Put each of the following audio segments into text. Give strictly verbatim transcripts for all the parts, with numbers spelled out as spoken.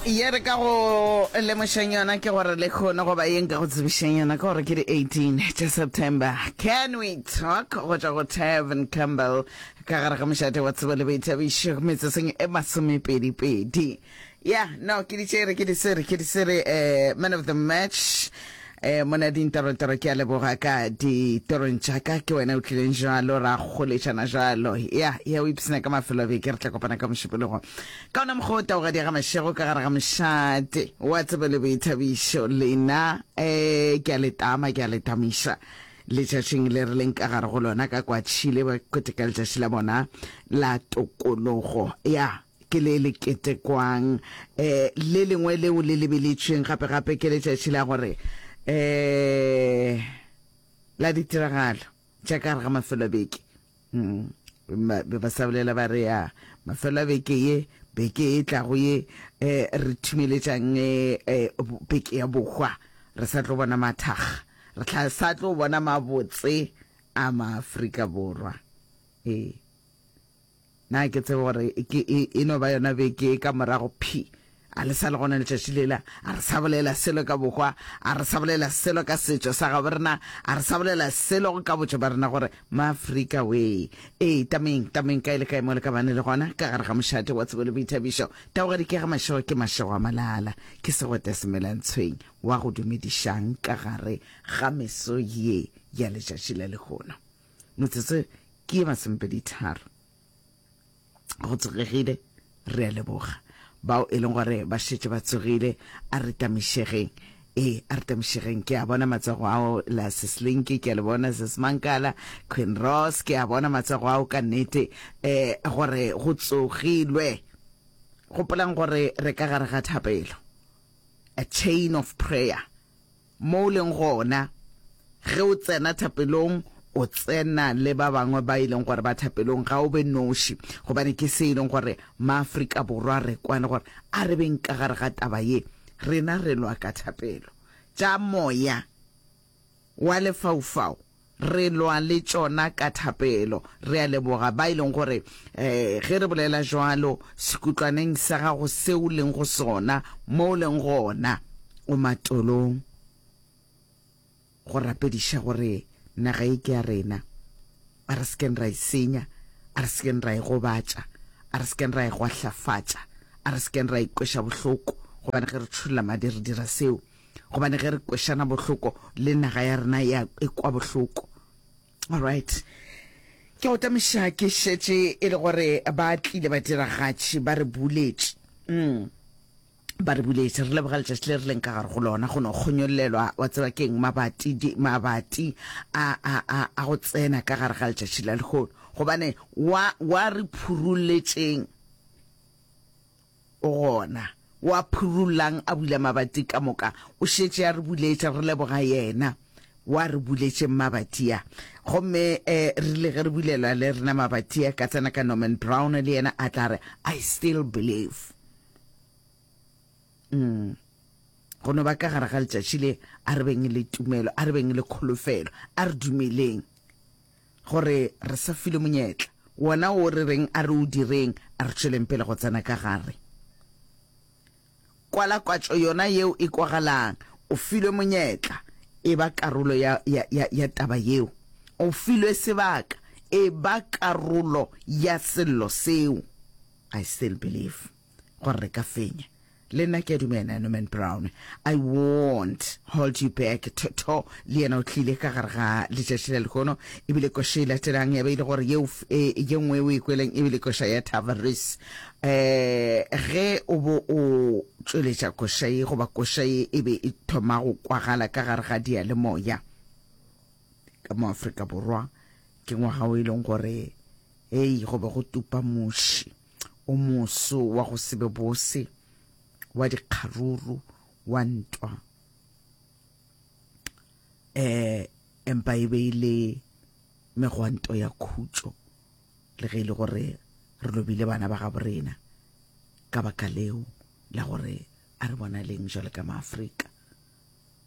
Ye re ka go lemošang yona ke gore le kgone goba ye nka go tsebišang yona ke gore ke di eighteen tša September. Can we talk go tšwa go Tevin Campbell ka gare ga mošate wa tsebo le boithabišo metsotsong e masomepedi-pedi. Ya, no, ke di tšere, ke di swere, ke di swere eh, man of the match. Eh, mona dintorotoro ke a leboga ka ditorong tša ka, ke wena o tlileng jalo ra goletšana jalo. Ya, ya o ipsina ka mafelo a beke, re tla kopana ka mošupologo. Ka ona mokgwa o taogadi ga mašego ka gare ga mošate wa tsebo le boithabišo lena eh ke a le tama, ke a le tamiša letšatšing le re leng ka gare go lona ka kwa Chile ba keteka letšatši la bona la tokologo. Ya, ke le le ketekwang eh le lengwe leo le lebeletšweng gape gape ke letšatši la gore eh la ditiragalo tša ka gare ga mafelo a beke. Mm. Ba ba sa bolela ba re ya mafelo a beke ye, beke e tlago ye eh re thumeletšang eh, eh beke ya bohwa, re sa tlo bona mathakga, re tla sa tlo bona mabotse a maAfrika Borwa. Ee, na ke tsebe gore ke e, e no ba yona beke ka morago phi a le sa le gona letšatši lela, a re sa bolela selo ka bohwa, a re sa bolela selo ka setšo sa gabo rena, a re sa bolela selo ka botšo ba rena gore maAfrika we. Ee, tameng tameng kae le kae mo le ka bane le gona ka gare ga mošate wa tsebo le boithabišo. Taogadi ke ga mašego ke mašego a malala, ke segote semelantshweng wa go dumedišang ka gare ga meso ye ya letšatši la lehono. Metsotso ke ye masomepedi tharo go tsogegile, re a leboga bao e leng gore ba šetše ba tsogile. A re tamišegeng, ee, a re tamišegeng. Ke a bona matsogo ao la Seslinki, ke a le bona Sesmankala, Queen Ross, ke a bona matsogo ao ka nnete eh gore go tsogilwe. Gopolang gore re ka gare ga thapelo, a chain of prayer, mo o leng gona ge o tsena thapelong o tsena le ba bangwe ba e leng gore ba thapelong, ga o be noši, gobane ke se e leng gore maAfrika Borwa re kwane gore a re beng ka gare ga taba ye, rena re lwa ka thapelo. Tša moya wa lefaufau re lwa le tšona ka thapelo. Re a leboga ba e leng gore eh ge re bolela jwalo sekutlwaneng sa gago seo leng go sona, mo o leng gona o matolong go rapediša gore naga e ke ya rena, a re sekeng ra e senya, a re sekeng ra e gobatša, a re sekeng ra e gwahlafatša, a re sekeng ra e kweša bohloko, gobane ge re tšholla madi re dira seo, gobane ge re kwešana bohloko le naga ya rena ya e kwa bohloko. Alright, ke go tamiša ke šetše e le gore ba tlile badiragatši ba re buletše. Mm. Ba re buletše, re leboga letšatši le re leng ka gare go lona, go no kgonyollelwa wa tseba keng mabati di, mabati a, a, a, a go tsena ka gare ga letšatši la lehono, gobane wa, wa re phurulletšeng o gona, wa phurullang a bula mabati ka moka, o šetše a re buletše, re leboga yena wa re buletšeng mabati a. Gomme eh, re ile ge re bulelwa le rena mabati a, ka tsena ka Norman Brown, le yena a tla re I still believe. Mm. Go no ba ka gare ga letšatši le, a re beng le tumelo, a re beng le kholofelo, a re dumeleng gore re sa filwe monyetla wona o re reng a re o direng, a re tšweleng pele go tsena ka gare. Kwalakwatšo yona yeo e kwagalang, o filwe monyetla, e ba karolo ya, ya, ya, ya taba yeo. O filwe sebaka, e ba karolo ya sello seo. I still believe gore re ka fenya. Le nna ke a dumela, Norman Brown, I won't hold you back. Toto le yena o tlile ka gare ga letšatši la lehono, ebile koša e latelang ya be e le gore yeo e, ye nngwe o e kweleng ebile koša ya Tavares. Eh ge o bo o tšweletša koša ye goba koša ye e be e thoma go kwagala ka gare ga diyalemoya ka mo Afrika Borwa, ke ngwaga o e leng gore hei go be go tupa muši o moso wa go se be bose, wa dikgaruru, wa ntwa, eh empa e be e le megwanto ya khutšo, le ge e le gore re lobile bana ba gabo rena ka baka leo la gore a re bonaleng jwalo ka maAfrika.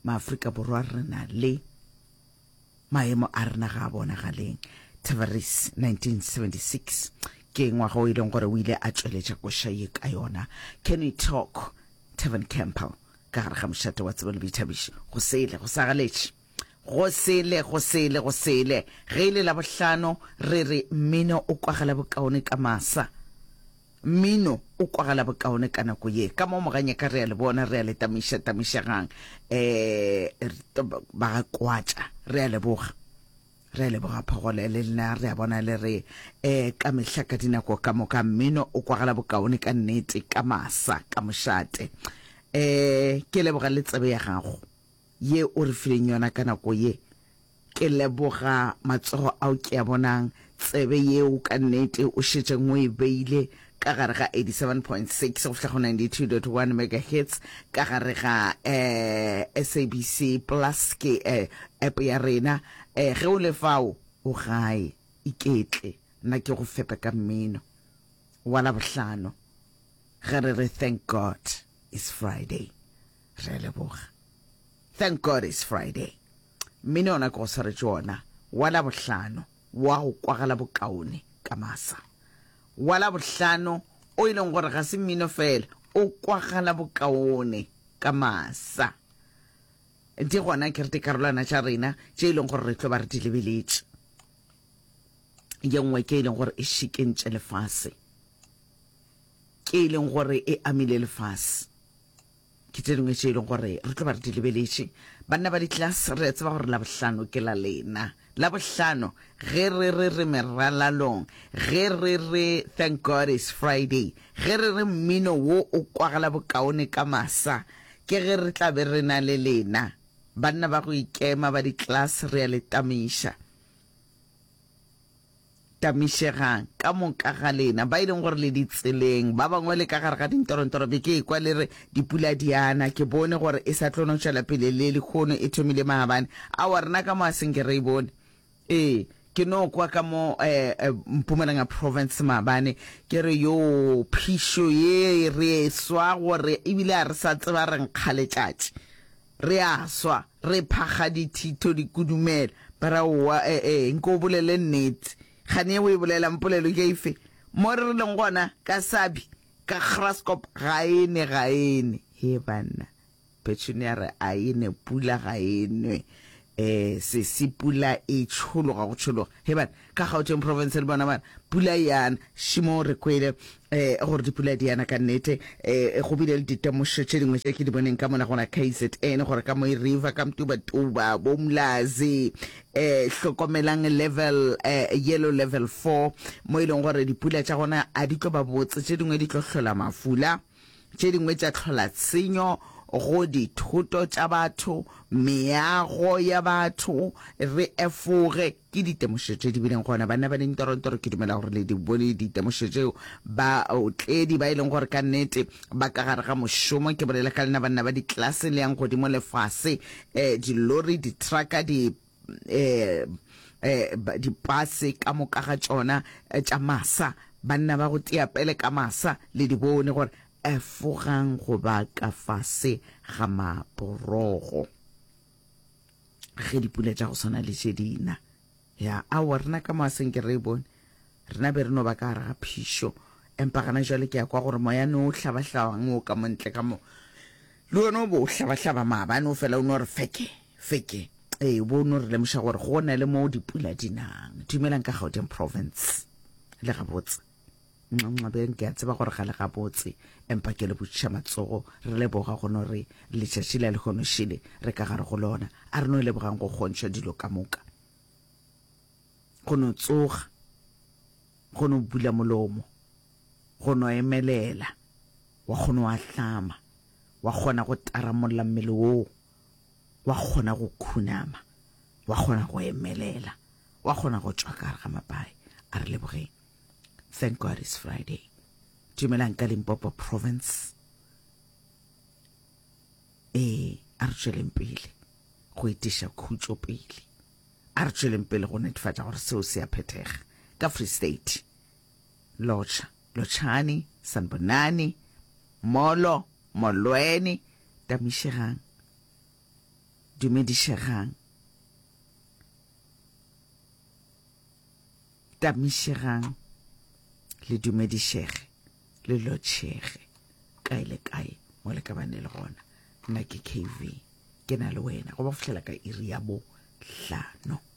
MaAfrika Borwa re na le maemo a rena ga a bonagaleng. Tavares nineteen seventy-six ke ngwaga o e leng gore o ile a tšweletša koša ye ka yona. Can we talk? Tevin Campbell ka gare ga mošate wa tsebo le boithabišo. Go sele, go sagaletše. Go sele, go sele, go sele. Ge e le Labohlano, re re mmino o kwagala bokaone ka masa. Mmino o kwagala bokaone ka nako ye. Ka mo Moganyaka re a le bona, re a le tamiša, tamišegang. Eh, ba ga kwatša, re a leboga. Re a leboga Phogole le lena, re a bona le re eh, ka mehla ka dinako ka moka mmino o kwagala bokaone ka nnete ka masa, ka mošate. Eh, ke leboga le tsebe ya gago ye o re fileng yona ka nako ye. Ke leboga matsogo ao ke a bonang, tsebe yeo ka nnete o šetšeng o e beile ka gare ga eighty-seven point six go fihla go ninety-two point one megahertz ka gare ga eh, S A B C Plus ke eh, app ya rena. Eh, ge o le fao o gae, iketle, nna ke go fepe ka mmino wa Labohlano ge re re thank God it's Friday. Re a leboga. Thank God it's Friday. Mmino ona ke go swaretše wona wa Labohlano wa go kwagala bokaone ka masa. Wa Labohlano o e leng gore ga se mmino fela, o kwagala bokaone ka masa. Di gona ke re dikarolwana tša rena tše e leng gore re tlo ba re di lebeletše. Ye nngwe ke e leng gore e šikentše lefase, ke e leng gore e amile lefase. Ke tše dingwe tše e leng gore re tlo ba re di lebeletše. Banna ba di-class, re a tseba gore Labohlano ke la lena. Labohlano ge re re re meralalong, ge re re thank God it's Friday, ge re re mmino wo o kwagala bokaone ka masa, ke ge re tla be re na le lena. Banna ba go ikema ba di-class, re a le tamiša. Tamišegang ka moka ga lena ba e leng gore le ditseleng, ba bangwe le ka gare ga dintorontoro. Be ke ekwa le re dipula di ana, ke bone gore e sa tlo no tšwela pele le lekgono, e thomile maabane. Aowa, rena ka mo a senke re e bone. Ee, ke no kwa ka mo, eh, eh, Mpumalanga province maabane, ke re yo phišo ye re e swa gore ebile a re sa tseba re nkga letšatši, re a swa, re phakga dithito dikudumela. Ba ra owa, eh, eh, nko o bolele nnete. Kgane o e bolelang polelo ke efe? Mo re leng gona ka Sabi, ka Graskop, ga e ne, ga e ne. He banna, Petunia re a e ne, pula ga e nwe. Eh, sesi pula e tšhologa go tšhologa. He bana, ka Gauteng province le bona bana, pula e ana. Šimo re kwele eh, gore dipula di ana ka nnete. Eh, go bile le ditemošo tše dingwe tše ke di boneng ka mona gona K Z N, gore ka Mooi River, ka Mtubatuba, bo Mlazi, eh, hlokomelang level, eh, yellow level four, mo e leng gore dipula tša gona a di tlo ba botse, tše dingwe di tlo hlola mafula, tše dingwe tša hlola tshenyo go dithoto tša batho, meago ya batho. Re efoge ke ditemošo tše di bileng gona. Banna ba dintorontoro, ke dumela gore le di bone ditemošo tšeo. Ba otledi ba e leng gore ka nnete ba ka gare ga mošomo, ke bolela ka lena banna ba ditlelase le yang godimo le fase, eh, dilori, ditrucka, di, eh, eh, dipase ka moka ga tšona, eh, tša masa. Banna ba go tia pele ka masa, le di bone gore efogang go ba ka fase ga maporogo ge dipula tša go swana le tše dina. Ya, aowa, rena ka mo a senke re e bone, rena be re no ba ka gare ga phišo. Empa gana jwale ke ya kwa gore moyane o hlabahlabang o ka montle ka mo, le wena o bo o hlabahlaba maabane o fela o no re feke feke. Ee, bo no re lemoša gore go na le mo dipula di nang. Dumelang ka Gauteng province, le gabotse. Nxabeng ke a tseba gore ga le gabotse, empa ke le botšiša matsogo. Re leboga go no re letšatši la lehono šele re ka gare go lona. A re no lebogang go kgontšha dilo ka moka, go no tsoga, go no bula molomo, go no emelela, wa kgona wa hlama, wa kgona go taramolla mmele woo, wa kgona go khunama, wa kgona go emelela, wa kgona go tšwa ka gare ga mapae. A re lebogeng. Thank God it's Friday. Dumelang ka Limpopo province. Ee, a re tšweleng pele go etiša khutšo pele. A re tšweleng pele go netefatša gore seo se a phethega. Ka Free State, Lotšha, Lotšhane, Sanbonani, Molo, Molweni, tamišegang, dumedišegang, tamišegang, le dumedišege, le lotšhege, kae le kae mo le ka ka bane le gona. Nna ke K V, ke na le wena go ba fihlela ka iri ya bo hlano.